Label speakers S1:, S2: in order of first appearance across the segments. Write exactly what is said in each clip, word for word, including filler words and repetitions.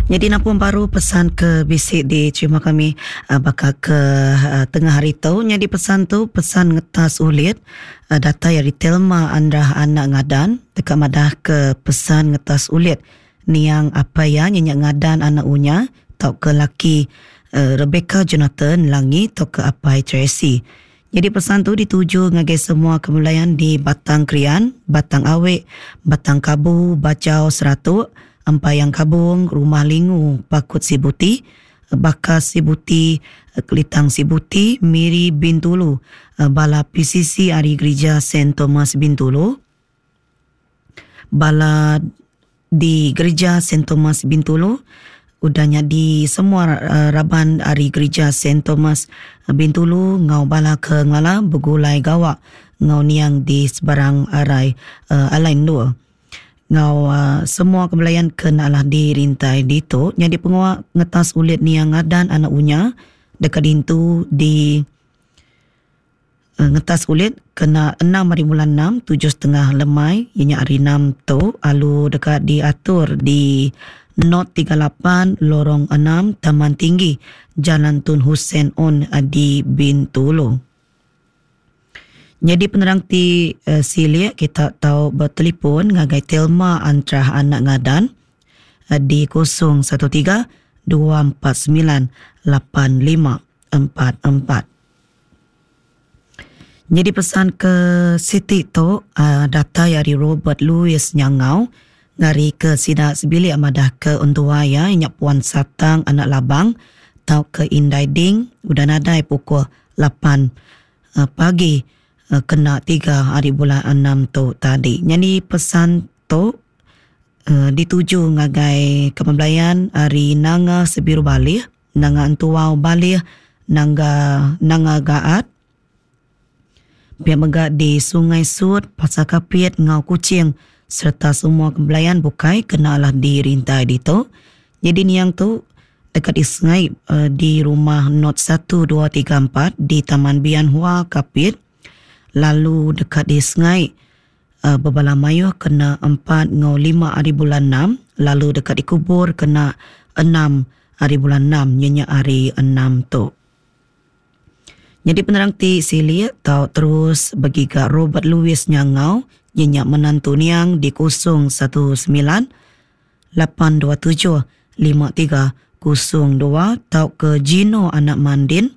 S1: Nyadi nampung baru pesan ke bisi diterima kami baka ke tengah hari tu. Nyadi pesan tu pesan ngetas ulit datai ari Telma Andrah Anak Ngadan deka madah ke pesan ngetas ulit niang apai iya nya Ngadan Anak Unya tauka laki Rebecca Jonathan Langi tauka apai Tracy. Nyadi pesan tu dituju ngagai semua kebelayan di Batang Krian, Batang Awik, Batang Kabu, Bajau Seratuk, Empayang Kabung, Rumah Lingu, Pakut Sibuti, Baka Sibuti, Kelitang Sibuti, Miri Bintulu, bala P C C ari Gerija Saint Thomas Bintulu, bala di Gerija Saint Thomas Bintulu, udah nyadi semua raban ari Gerija Saint Thomas Bintulu ngau bala ke ngelala begulai gawa ngau niang di sebarang arai alai endur. Ngau uh, semua kebelayan ke nalah dirintai ditu nyadi penguak ngetas ulit niang Ngadan Anak Unya dekat dintu di uh, ngetas ulit kena enam hari bulan enam tujuh setengah lemai ianya hari enam tu alu dekat diatur di Not tiga lapan Lorong enam Taman Tinggi Jalan Tun Hussein On di Bintulu. Jadi penerang ti uh, silik kita tahu bertelefon ngagai Telma Antrah Anak Ngadan uh, di kosong satu tiga dua empat sembilan lapan lima empat empat. Jadi pesan ke Siti tu uh, data dari Robert Louis Nyangau ngari ke sida sebilik madah ke entua ya inyak Puan Satang Anak Labang tau ke Indai Ding udah nadai pukul lapan uh, pagi kena tiga hari bulan enam tu tadi. Jadi pesan tu uh, dituju ngagai kepembelayan hari Nanga Sebiru Balih, Nanga Entuau Balih, Nanga Nanga Gaat, pihak mega di Sungai Sut, Pasar Kapit, Ngau Kuching serta semua kepembelayan bukai kenalah dirintai ditu. Jadi niang tu dekat di sungai uh, di rumah not satu dua tiga empat di Taman Bian Hua Kapit. Lalu dekat di sungai uh, berbala mayuh kena empat ngau lima hari bulan enam, lalu dekat dikubur kena enam hari bulan enam nyenyak hari enam tu. Jadi penerang ti silik tau terus bagi Robert Louis Nyangau nyenyak menantu niang di kosong satu sembilan lapan dua tujuh lima tiga kosong dua tau ke Gino Anak Mandin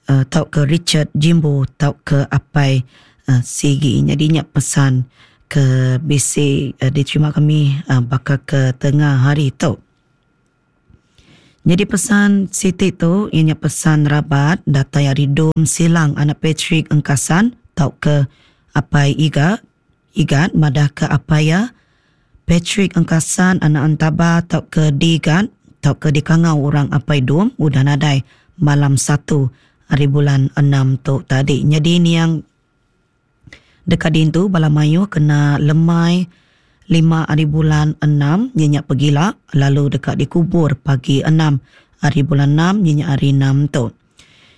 S1: Uh, tau ke Richard Jimbo tau ke Apai uh, Sigi. Jadi nyak pesan ke B C uh, diterima kami uh, bakal ke tengah hari tu. Jadi pesan Siti tu ianya pesan rabat datai ari Dom Silang Anak Patrick Engkasan tau ke Apai Iga Igat madah ke Apai ya Patrick Engkasan Anak Antaba tau ke Digat tau ke dikangau orang Apai Dom udah nadai malam satu hari bulan enam tu tadi. Jadi ni yang dekat dintu bala mayu kena lemai lima hari bulan enam nyenyak pegila lalu dekat dikubur pagi enam hari bulan enam nyenyak hari enam tu.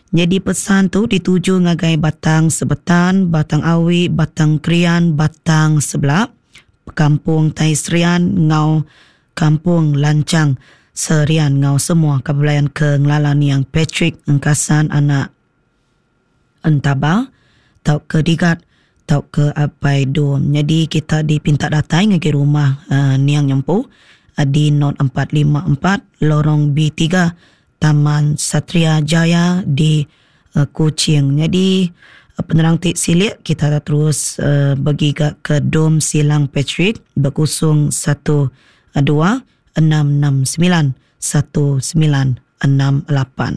S1: Jadi pesan tu dituju ngagai Batang Sebetan, Batang Awi, Batang Krian, Batang Sebelah, Kampung Tai Serian, Ngau Kampung Lancang Serian ngau semua kebelayan ke ngelalan yang Patrick Engkasan Anak Entaba tau ke Digat tau ke Apai Dom. Jadi kita dipinta datang ke rumah uh, Niang Nyempu uh, di Not empat lima empat Lorong B tiga Taman Satria Jaya di uh, Kuching. Jadi uh, penerang tik silik kita terus uh, bagi ke Dom Silang Patrick berkosong satu dua enam enam sembilan satu sembilan enam lapan.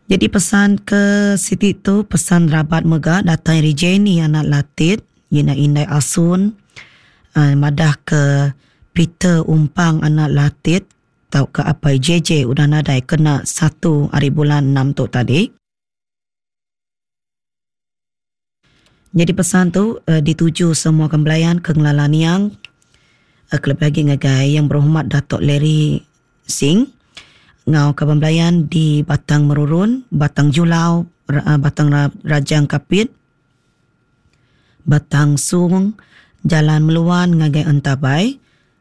S1: Jadi pesan ke Siti tu pesan rabat mega datang dari Jenny Anak Latit, Yina Indai Asun, uh, madah ke Peter Umpang Anak Latit tau ke Apai J J udah nadai kena satu hari bulan enam tu tadi. Jadi pesan tu uh, dituju semua kembelayan ke ngelala niang kelebih lagi ngagai yang berhormat Datuk Larry Singh ngau kaban belayan di Batang Merurun, Batang Julau, Batang Rajang Kapit, Batang Sung, Jalan Meluan ngagai Entabai,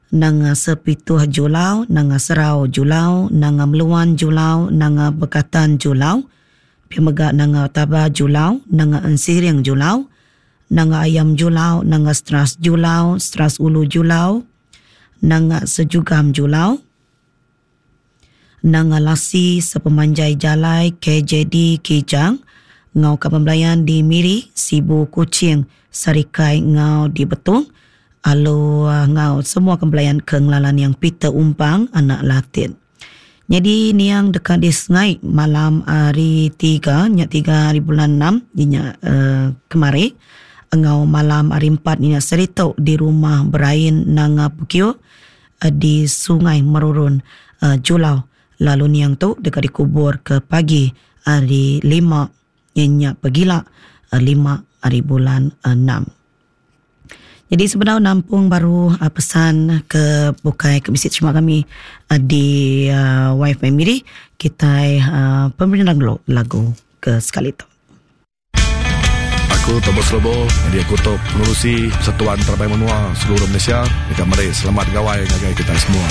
S1: Nanga Sepituh Julau, Nanga Serau Julau, Nanga Meluan Julau, Nanga Bekatan Julau, pia mega Nanga Taba Julau, Nanga Ensiring Julau, Nanga Ayam Julau, Nanga Stras Julau, Stras Ulu Julau, Nanga Sejugam Julau, Nanga Lasi sepemanjai jalai K J D Kijang, ngau kaban belayan di Miri, Sibu, Kuching, Sarikai ngau di Betong, alu ngau semua kembelayan ke ngelalan yang Peter Umpang anak Latin. Jadi niang dekat di Sengai malam hari tiga, nyak tiga hari bulan enam, nyak, uh, kemari, ngau malam hari empat nyak serito di rumah Berain Nanga Pukio, uh, di Sungai Merurun, uh, Julau. Lalu niang tu dekat dikubur ke pagi hari lima, nyak pegila, uh, lima hari bulan enam. Jadi sebenarnya nampung baru uh, pesan ke bukai ke bisik terima kami uh, di uh, Wife Family kita uh, pemerintah dulu lagu ke sekali tu.
S2: Aku Thomas Lobo, jadi aku tu pengurusi Persatuan Terabai Menua seluruh Malaysia. Dekat mari selamat gawai ngagai kita semua.